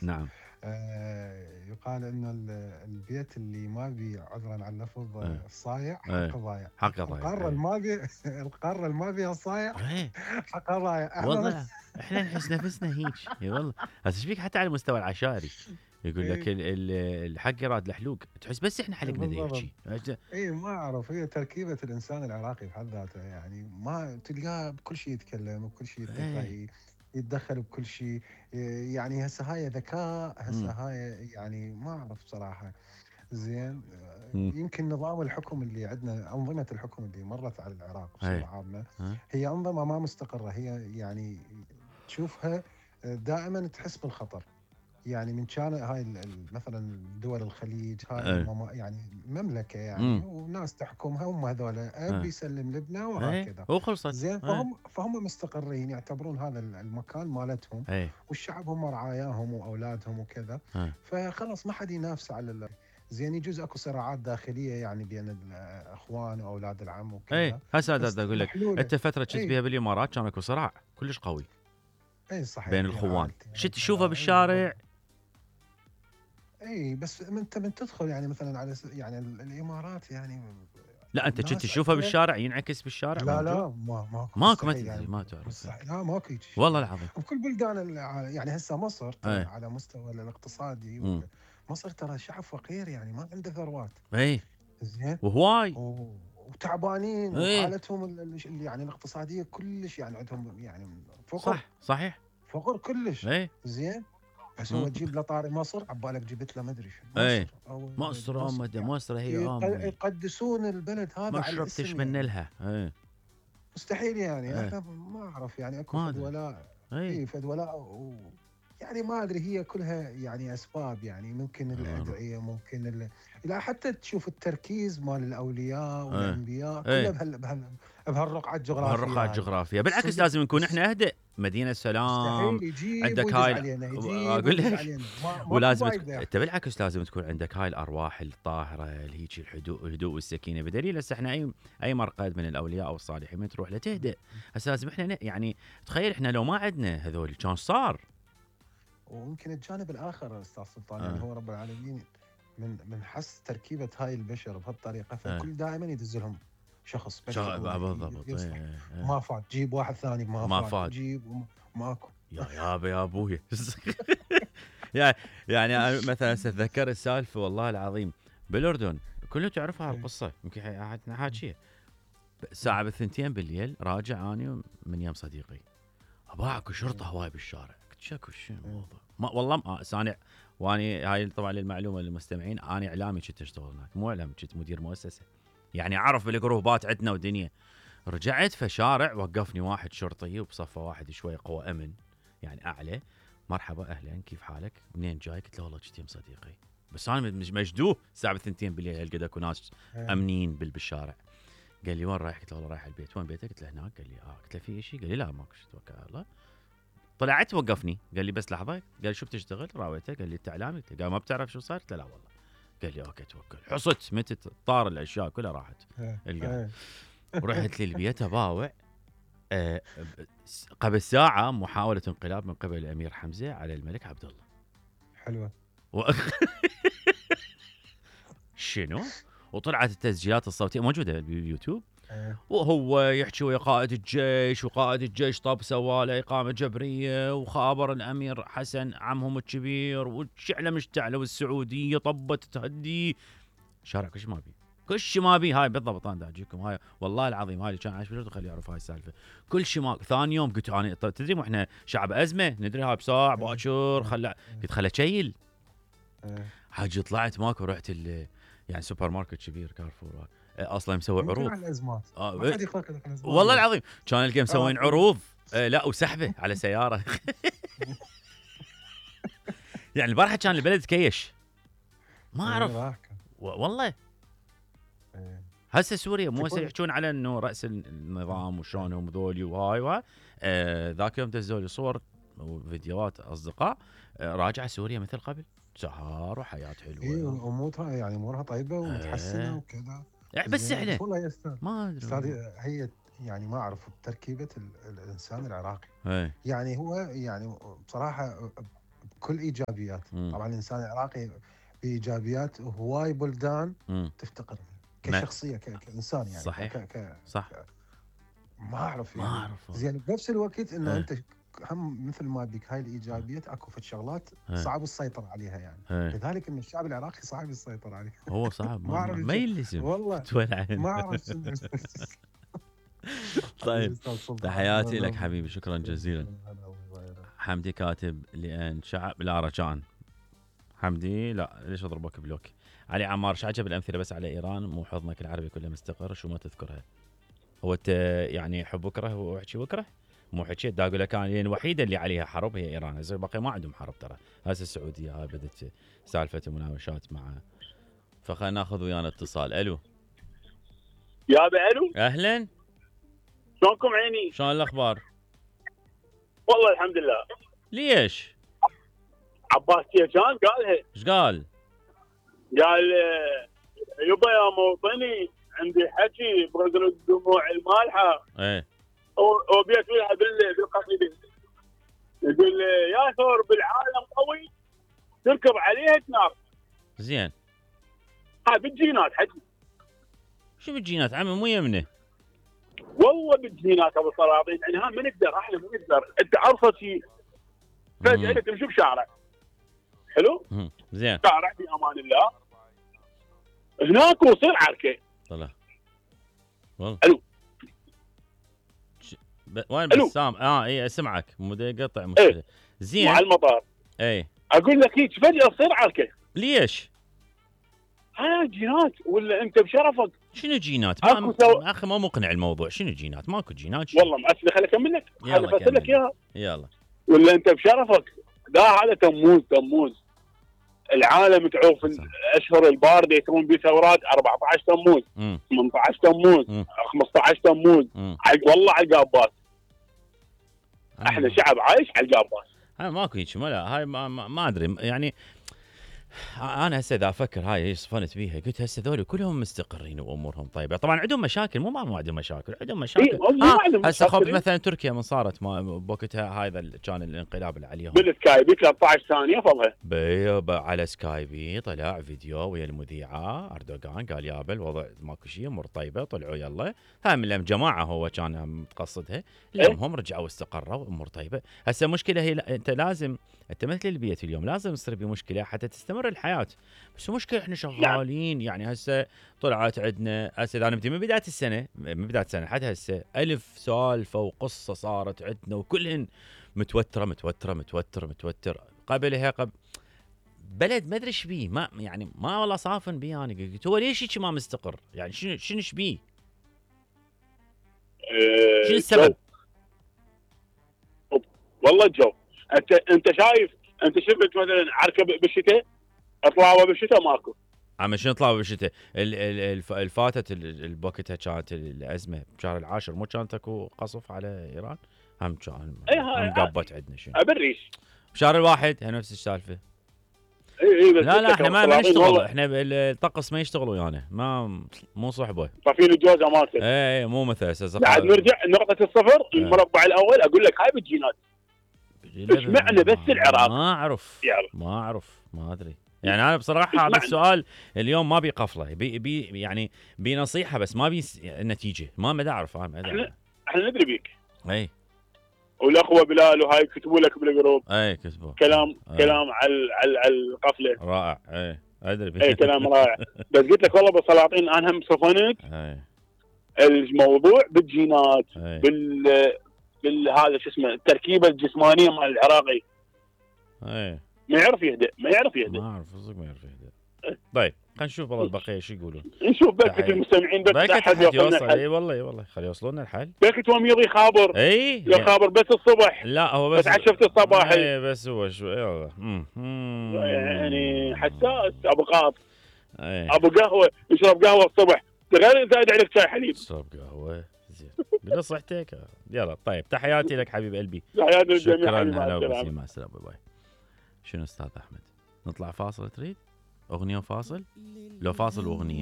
الناس. نعم. يقال انه البيت اللي ما بي، عذرا على اللفظ، ايه صايع ايه حقه ضايع. حقه ضايع. القاره اللي ايه ما بي القاره اللي ما بيها صايع ايه حقها ضايع. احنا والله احنا نحس نفسنا هيك. اي والله. هسه ايش بيك حتى على المستوى العشائري يقول لك ايه الحق يراد الحلوق، تحس بس احنا حلقنا ذي بالضبط. يحكي. اي ما اعرف، هي تركيبه الانسان العراقي بحد ذاته، يعني ما تلقاه بكل شيء يتكلم، بكل شيء ايه يتدخل بكل شيء. يعني هسه هاي ذكاء، هسه امم هاي يعني ما اعرف بصراحه. زين. امم يمكن نظام الحكم اللي عندنا، انظمه الحكم اللي مرت على العراق بصوره ايه عامه، ها هي انظمه ما مستقره. هي يعني تشوفها دائما تحس بالخطر. يعني من كان هاي مثلا دول الخليج، هاي ايه يعني مملكه يعني، امم وناس تحكمها، هم هذول اب ايه يسلم لبنى ايه وهكذا. وخلصت. زين. ايه فهم مستقرين، يعتبرون هذا المكان مالتهم، ايه والشعب هم رعاياهم واولادهم وكذا. ايه فخلاص ما حد ينافس على زين. يجوز اكو صراعات داخليه يعني بين الاخوان واولاد العم ايه وكذا، هسه بس اقول لك، محلوله. انت فتره كنت اي بيها بالامارات كان اكو صراع كلش قوي اي بين صحيح، بين الخوان، عائلتين شو تشوفه وكذا. اي بالشارع؟ بالضبط. اي بس انت من تدخل يعني مثلا على يعني الامارات يعني لا انت كنت الناس تشوفه عندها. بالشارع ينعكس بالشارع لا موجود؟ لا، ماكو، ماكو، ما مستحيل تدري، يعني. ما تعرف. مستحيل، لا ماكو هيك شيء والله يعني. العظيم. بكل بلدان يعني هسه مصر ترى ايه على مستوى الاقتصادي امم مصر ترى شعب فقير يعني، ما عنده ثروات. ايه زين. وهواي. وتعبانين، ايه وحالتهم يعني الاقتصاديه كلش يعني عندهم يعني فقر. صح صحيح. فقر كلش. ايه زين. بس مم. هو تجيب له طاري مصر، عبالك جبت له ما ادري شو ايه مصر او مصر مصر امي، يعني. مصر هي امي، يقدسون البلد هذا ما على شربتش الاسم من يعني. لها. ايه مستحيل يعني. ايه احنا ما اعرف يعني اكو ما فد ادري. ولاء. ايه اي فد ولاء يعني ما ادري، هي كلها يعني اسباب، يعني ممكن آه. الادعيه، ممكن لا حتى تشوف التركيز مال الاولياء ايه والانبياء كله ايه بهالرقعه بهالرقعة الجغرافيه هاي. الجغرافية بالعكس صدق لازم نكون احنا اهدأ، مدينة سلام. مستحيل يجيب عندك ويدز هاي علينا، يجيب اقول ويدز لك علينا، ماكو ولازم فايده. انت بالعكس لازم تكون عندك هاي الارواح الطاهره اللي هيك الهدوء والسكينه، بدليل هسه احنا اي مرقد من الاولياء او الصالحين من تروح له تهدأ. هسه لازم احنا يعني تخيل احنا لو ما عندنا هذول كان صار. ويمكن الجانب الاخر استاذ سلطان، يعني اه هو رب العالمين من حس تركيبه هاي البشر بهالطريقه، اه فكل دائما يدز لهم شخص بشر هو بالضبط. يصلح. ايه ايه ما فات جيب واحد ثاني، ما ما فات فاد. جيب ماكو. يا ابوي يعني يعني أنا مثلا اتذكر السالفه والله العظيم بالاردن، كلهم تعرفوا إيه. هالقصه يمكن حاجيه. الساعه بالثنتين بالليل راجع اني من يم صديقي، ابا اكو شرطه إيه. هواي بالشارع، قلت شكو شنو إيه. الموضوع؟ ما والله ما سانع. واني هاي طبعا للمعلومه للمستمعين، اني اعلامي كنت اشتغل هناك، مو اعلامي، كنت مدير مؤسسه، يعني اعرف بالجروبات عندنا ودنيا. رجعت في شارع وقفني واحد شرطي وبصفه واحد شوي قوى امن يعني اعلى، مرحبا اهلا كيف حالك منين جاي؟ قلت له والله كنت يم صديقي، بس انا مجدوه الساعه 2 بالليل هالقد اكو ناس إيه. امنين بالشارع. قال لي وين رايح؟ قلت له والله رايح البيت. وين بيتك؟ قلت له هناك. قال لي قلت له في شيء؟ قال لي لا ماكو شيء توكل على الله. طلعت وقفني قال لي بس لحظه، قال لي شو بتشتغل؟ راويته قال لي انت اعلامي؟ قال ما بتعرف شو صار؟ قلت له لا والله. قال لي اوكي توكل. حصت متت طار الاشياء كلها راحت إيه. القاعد. إيه. ورحت للبيت اباوع. آه قبل ساعه محاوله انقلاب من قبل الامير حمزه على الملك عبد الله. حلوه. و... شنو؟ وطلعت التسجيلات الصوتيه موجوده باليوتيوب، إيه. وهو يحكي ويا قائد الجيش، وقائد الجيش طب سوى له إقامة جبرية، وخابر الأمير حسن عمهم الكبير، والشعلة مشتعلة، والسعودية طبت تهدي شارع كل شيء ما بي، كل شيء ما بي. هاي بالضبط انا دا اجيكم هاي والله العظيم، هاي اللي كان عايش بالأردن خليه يعرف هاي السالفه. كل شيء ما. ثاني يوم قلت انا تدري احنا شعب ازمه ندري هاي بساعه إيه. باكر إيه. قلت خله شيل. إيه. حاجي طلعت ماكو، رحت يعني سوبر ماركت كبير كارفور اصلا مسوي يمكن عروض. على الازمات. ما آه حد يقرا لك الازمات والله زين. العظيم كان القى مسوين طيب. عروض. لا وسحبه على سياره. يعني البارحه كان البلد كيش ما ايه اعرف راح كان. والله. إيه. هسه سوريا مو هسه تقول. يحكون على انه راس النظام وشلونهم ذولي وهاي ذاك يوم دزوا لي صور وفيديوهات اصدقاء راجعه سوريا مثل قبل، سهر وحياه ايه حلوه امورها يعني امورها طيبه ومتحسنه آه وكذا. بس زين. احنا بس والله يا استاذ، ما ادري استاذ، والله. هي يعني ما اعرف تركيبه الانسان العراقي. ايه يعني هو يعني بصراحه كل ايجابيات. مم. طبعا الانسان العراقي بايجابيات هواي بلدان مم. تفتقر ما- كشخصيه كانسان يعني صحيح. صح. ما اعرف ما يعني. اعرف والله. زين بنفس الوقت انه إيه. انت هم مثل ما بيك هاي الايجابيات اكو فد شغلات إيه. صعب السيطره عليها يعني. إيه. لذلك ان الشعب العراقي صعب السيطره عليه. هو صعب ما اعرف ما يلزم والله تولعن. ما اعرف شنو. طيب أستاذ سلطان. تحياتي لك حبيبي، شكرا جزيلا. هلا والله. حمدي كاتب لان شعب لا رجاء. حمدي لا ليش اضربك بلوك. علي عمار عجب الامثله بس على ايران، مو حضنك العربي كله مستقر شو ما تذكرها. هو انت يعني حب وكره واحكي وكره، مو حكيت دا اقول لك انا الوحيده اللي عليها حرب هي ايران، هسه باقي ما عندهم حرب ترى. هسه السعوديه هاي بدت سالفه مناوشات مع. فخلينا ناخذ ويانا اتصال. الو يا الو، اهلا، شلونكم عيني؟ شلون الاخبار؟ والله الحمد لله. ليش؟ عباس كيجان قالها، ايش قال؟ قال يبا يا موطني عندي حكي بغزل الدموع المالحه ايه وبيت لها بالقصيده. يقول يا ثور بالعالم قوي تركب عليها تنار. زين هاي بالجينات حكي. شو بالجينات عمي مو يمنه. والله بالجينات ابو السلاطين، يعني ها ما نقدر، احنا ما نقدر. انت ابسط شيء فجاه انت تمشي بشارع حلو، زين شارع في امان الله، هناك وصير عركه. طلع والله. الو وين ألو. بسام؟ اي اسمعك مو يقطع مشكله. ايه زين مع المطار. اي اقول لك هيك فجاه تصير عركه. ليش؟ ها جينات ولا انت بشرفك؟ شنو جينات؟ أكو اخي ما مقنع الموضوع. شنو جينات؟ ماكو جينات. والله مأسفة، خليني اكمل لك، خليني افسر لك اياها. يلا ولا انت بشرفك؟ لا هذا تموز العالم تعوف الاشهر البارده يكون بثورات 14 تموز 18 تموز 15 تموز والله على القابات. احنا شعب عايش على القابات. ماكو هيك لا هاي ما ادري يعني. انا هسه اذا افكر هاي صفنت بيها قلت هسه ذولي كلهم مستقرين وامورهم طيبه. طبعا عندهم مشاكل، مو ما عندهم مشاكل، عندهم مشاكل. هسه خب مثلا تركيا من صارت ما بوقتها هذا كان الانقلاب اللي عليهم بالسكايبي 13 ثانيه فضها على سكايبي طلع فيديو ويا المذيعه اردوغان قال يابا الوضع ماكو شيء امور طيبه. طلعوا يلا هاي من الجماعه هو كان متقصدها اليوم هم رجعوا استقروا امور طيبه. هسه مشكله هي انت لازم انت مثل البيت اليوم لازم تصير بمشكله حتى تستمر الحياه. بس مشكله احنا شغالين يعني. هسه طلعت عندنا هسه اذا نبدي من بدايه السنه لحد هسه 1000 سالفه وقصه صارت عندنا وكلهن متوتره. قبلها بلد ما ادري ايش بيه، ما يعني ما والله صافن بيه. انا قلت هو ليش هيك ما مستقر يعني؟ شنو ايش بيه؟ شنو السبب؟ والله الجو. انت شايف، انت شفت مثلا عركه بالشتاء، اطلعوا بالشتاء ماكو. عم شنو طلعوا بالشتاء؟ الفاتت بوقتها كانت الازمه بشهر العاشر، مو كانت اكو قصف على ايران؟ هم كان قبت عندنا شنو ابريش بشهر الواحد نفس السالفه. اي بس لا احنا ما نشتغل، احنا الطقس ما يشتغلوا يعني مو صحبه طافين الجوزه مالته. اي مو مثل اساس بعد نرجع نقطه الصفر المربع الاول. اقول لك هاي بالجينات. ايش معنى بس العراق؟ ما اعرف ما ادري يعني. انا بصراحه هذا السؤال اليوم ما بي قفله يعني بنصيحه بس ما بي نتيجه. ما اعرف احنا ندري بيك. اي والاخوه بلال وهاي كتبوا لك بالجروب. اي كتبوا كلام على القفله رائع. اي ادري اي كلام رائع. بس قلت لك والله بالسلاطين انا هم صفنت الموضوع بالجينات هذا شو اسمه التركيبه الجسمانيه مال العراقي. ما يعرف يهدأ. ما اعرف صدق ما يعرف يهدأ. طيب خلينا نشوف والله البقيه شو يقولون. نشوف بكت المستمعين بس حد يوصل. اي والله خلي يوصلون الحل. بكتهم يضي خابر. اي خابر بس الصبح. لا هو بس عشفت الصباح. اي بس هو شو يلا يعني حساس ابو قاط. ابو قهوه يشرب قهوه الصبح غير زايد عليك شاي حليب. اشرب قهوه زين قول صحتك. يلا طيب تحياتي لك حبيب قلبي. تحياتي للجميع. شكرا. هلا مع السلامه. باي. شنو استاذ احمد نطلع فاصل؟ تريد اغنيه وفاصل؟ لو فاصل واغنيه